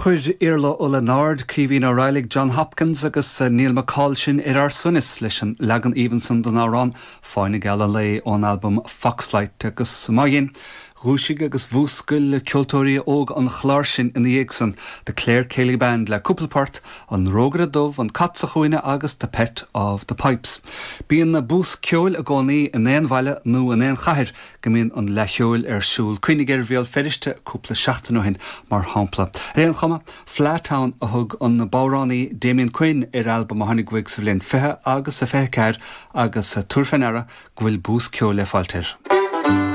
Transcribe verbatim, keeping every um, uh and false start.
Chuir Iarla Ó Lionáird, Caoimhín Ó Raghallaigh, John Hopkins agus Neil McCall sinn ar ár suaimhneas leis an leagan aoibhinn san den amhrán Fáinne Geal an Lae ón albam Foxlight agus maidin. Dhúisigh agus mhúscail ceoltóirí óga an Chláir sin ina dhiaidh san, The Clare Céilí Band le cúpla port, an Rógaire Dubh, an Cat sa Chúinne agus The Pet of the Pipes. Bíonn na bús ceoil i gcónaí in aon bhaile nó in aon chathair go mbíonn an Fhleadh Cheoil ar siúl cuimhnigh ar Bhéal Feirste cúpla seachtain ó shin mar shampla. Ar aon chuma, Fleadh Town a thug an bodhránaí Damien Quinn ar albam a tháinig uaidh sa bhliain fiche agus a fiche ceathair agus tabhair faoi deara go bhfuil bús ceoil le fáil air.